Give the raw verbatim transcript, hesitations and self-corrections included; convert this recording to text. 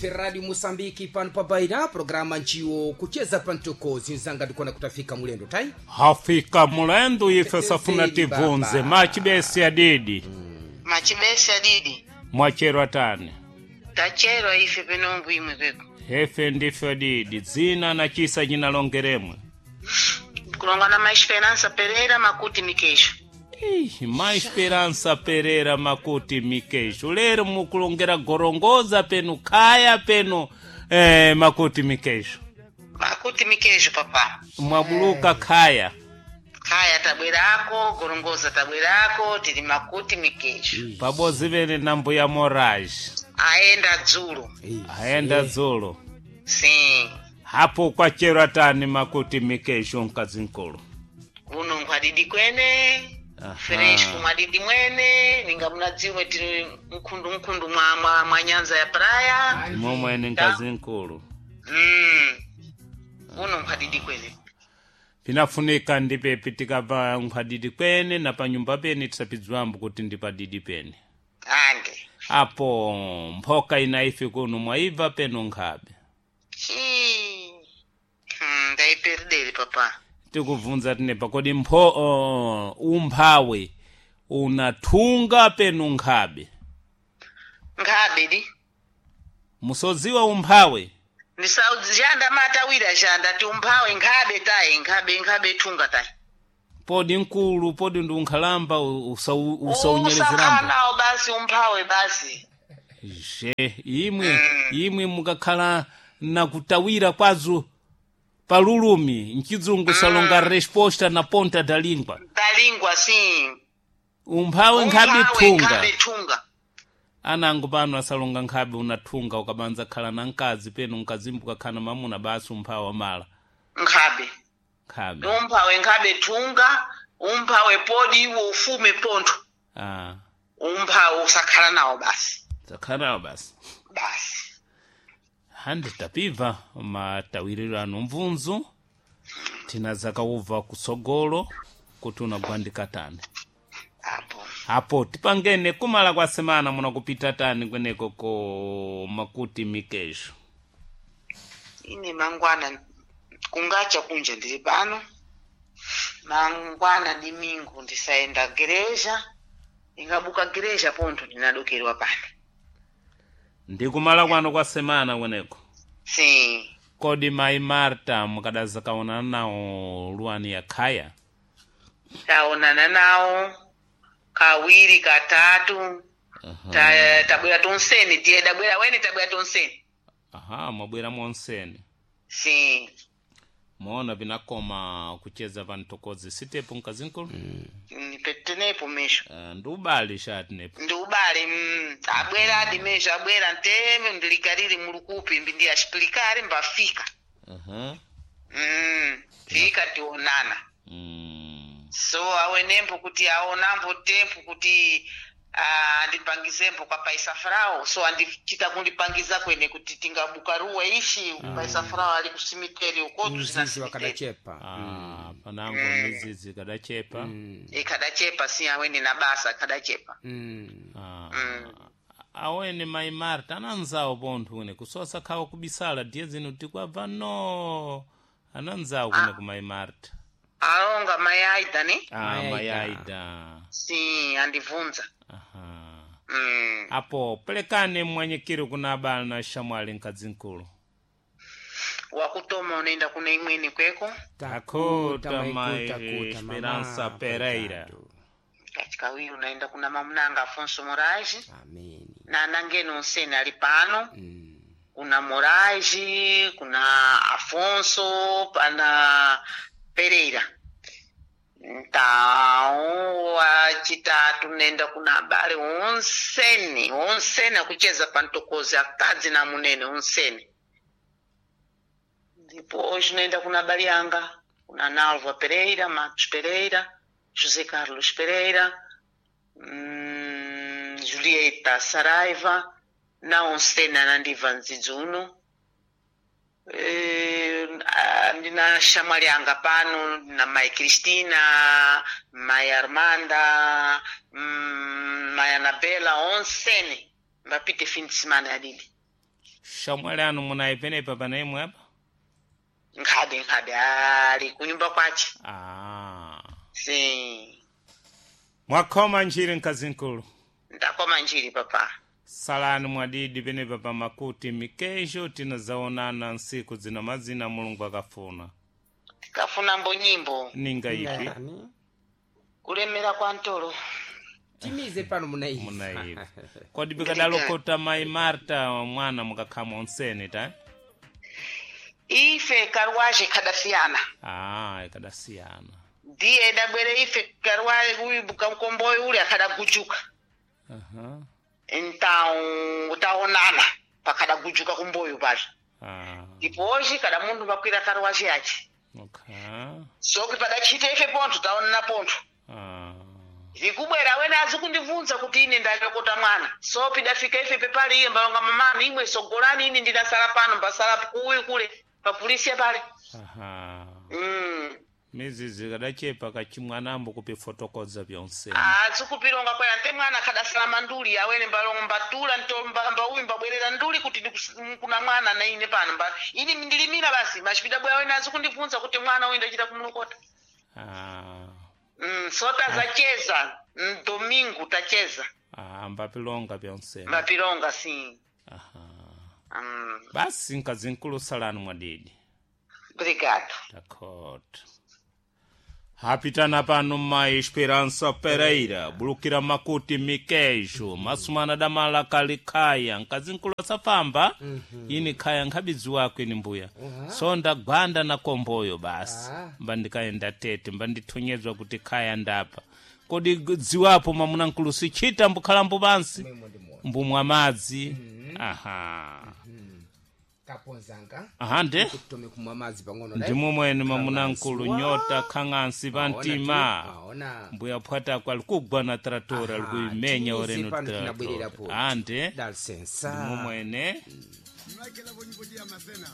Ife Radio Mosambiki pano pa Baira, programa nchiwo kucheza pantokozi nzanga ndikuona kutafika mulendo tai. Hafika mulendo ife safuna Tetezeli tivunze baba. machibesi adidi Machibesi adidi mwachero atani tacherwa ife penongo imwe kweko hefe ndife adidi dzina na chisa chinalongeremwe kulonga na maesperança Pereira makuti mikesho Ih, ma Esperança Pereira makuti mikesho lero mukulongera gorongoza penu khaya penu eh, makuti mikesho makuti mikesho papa mwabuluka khaya khaya tabwerako gorongoza tabwerako tili makuti mikesho pabodzi pene na mbuya Moraes aenda dzulo aenda dzulo sim hapo kwachero atani makuti mikesho mkazi nkulu kuno nkhwadidi kwene Aha. fresco mwadidi mwene ninga munadziwe tili mkhundu mkhundu mwa, mwa, mwa nyanza ya praia momwene mkazi nkulu mm. kuno nkhwadidi kwene pinafunika ndipepi tikabva nkhwadidi kwene na panyumba pene tisapidzwambo kuti ndi padidi pene ande apo mphoka ina ife kuno mwaibva peno nkhabe Chii. Hmm, ndaiperideri papa tikubvunza tinepa kodi mpho uh, umphawi unathunga peno nkhabe nkhabe di musodziwa umphawi ndisauzhanda matawira zhanda ti umphawe nkhabe tayi nkhabe nkhabe thunga tayi podi nkulu podi ndi unkhalamba usau- usaunyelezerambo usakhanawo basi umphawe basi je imwe imwe mukakhala nakutawira kwazo palulumi mchizungu salonga resposta na ponta da língua dalingwa si umphawi nkhabe thunga nkhabe thunga anango pano asalonga nkhabe unathunga ukabanza khala na mkazi peno mkazimbu kakhala na mamuna basi umphawi wamala nkhabe nkhabe umphawe nkhabe thunga umphawe podi iwo ufume pontho ah umphawe usakhala nawo basi zakhalawo basi basi handi tapibva matawiriro ano mvunzu tina zakauva kutsogolo kuti unagwandika tani apo apo tipangene kumala kwa semana munakupita tani kweneko ko makuti mikesho ine mangwana kungacha kunja ndili pano mangwana dimingu ndisaenda gereja ingabuka gereja pontho ndinadokerwa pano ndi kumala kwano kwa semana kweneko sim kodi mayi Marta mukadazakaonana nawo luwani ya khaya taonana nawo kawiri katatu ta, tabwera tonseni tiye dabwera wene tabwera tonseni aha mwabwera monseni sim moona vinakoma kucheza pantokozi sitepo mkazinkulu mm. nipetenepo mesho uh, ndi ubale shatinepo ndi ubale mm, abwera adi mesho abwera nteme ndilikalili mulukupi mbi ndi axipilikali mbafika uh-huh. mm, fika tionana mm. so awenembo kuti aonambo tempo kuti ah, andipangizembo kwa paisa frao so andichita kundipangiza kwene kuti tingabuka ruwa ishi paisa frao ali kusimiteri ukotu zina Mzizi simiteri wakadachepa. ah, panango mizizi kadachepa mm. ikadachepa si awene na basa kadachepa Mm. ah. Mm. awene mayi Marta ananzawo pontho kune kusosa khawa kubisala diye zino tikwabva no ananzawo kune ku mayi Marta alonga mai aida ne ah, Mayi mayi Aida. Aida si andivunza aha mm. apo pelekane mwanyikiro kuna abale na shamwali mkazinkulu wakutoma unaenda kuna imweni kweko Takuta, maikuta, mai kuta, Esperança mama, Pereira. patatu. kachikawiri unaenda kuna mamunanga Afonso Moraes Ameni. na anangeni onseni ali pano Mm. kuna Moraes, kuna Afonso, pana Pereira. Então, achitatu nenda kuna abale onseni, onseni akucheza pantokozi akadzi na munene onseni. Depois nenda kuna abale yanga, kuna Nalva Pereira, Marcos Pereira, José Carlos Pereira, hum, Julieta Saraiva, na onseni anandibva ndzidzi uno Eh, ah, ndina shamwali yanga pano ndina mai Cristina mai Armanda mm, mai Anabela onseni mbapite fim de semana yadidi Shamwali anu munayi penepa panaimwe apa? Nkhadi nkhadi ali kunyumba kwace. Ah. Sim. Mwakhoma njiri mkazinkulu. Ndakoma njiri papa. Salani mwadidi penepa pa makuti mikejo tinazaonana nsiku zina mazina Mulungu akafuna. Tikafuna mbo nyimbo Ninga ipi? Nani? kulemera kwa ntolo. Timize pano munaiva. Munaiva. Kodi bikadalokota mai Marta mwana mukakhama onsene ta? Ife karwaje kadasiyana. Ah, ikadasiyana. Ndiye dabwere ife karwaje uyu bukamkomboyo ule akadagujuka. Aha. Então taonana pakadagujuka kumboyo pale. Ah. Depois kada mundu makwira karwaje yache. Okay. Soki padachite ife pontho taonana pontho. Ah. Zikubwera wena azikundibvunza kuti ine ndalokota mwana. So pidafika ife pepali iye mbalonga mamani imwe sogolani ine ndinasala pano mbasala kuuyu kule papulisiya pale. Aha. Mm. Mizizi kadachepa kachimwanambo kupifotokoza byonsene. Azikupilonga kwera nte mwana akadasala manduli awene mbalonga mbatula nto mba- mbauyu mbabwerera nduli kuti ndikus- kuna mwana na ine pano mba ini ndilimira basi machipidabwera wene azikundibvunza kuti mwana uyu ndachita kumulokota. Ah. Mm, so tazacheza mm, domingo tacheza Ah, mbapilonga byonsene. mbapilonga sim. Aha. Mm, Basi nkazinkulu salani mwadidi. obrigado. Dakota. Hapitana pano mai Esperança Pereira, bulukira makuti mikejo, masumana damala kali khaya, nkazinkulu asafamba, ini khaya nkhabidzi wako ini mbuya. So ndagwanda na komboyo basi. Ah. Mba ndikaenda tete, mba ndithonyezwa kuti khaya ndapa. Kodi dziwapo mwamuna nkulu sichita mbukhalambo pansi, Mwemo ndimona. mbumwa madzi. Aha. Kaponzanga. Aha nde? Kutome kumwa madzi pang'ono dai. Ndimo mwene mwamuna nkulu Wa. nyota khang'ansi pantima. Aona. Mbuya phwatako ali kugwa na tratora ali kuimenya Timize oreno pano tinabwerera tratora. po. Ande Dal sensa. ndimo mwene Mlakela vonyivoji ya mazena.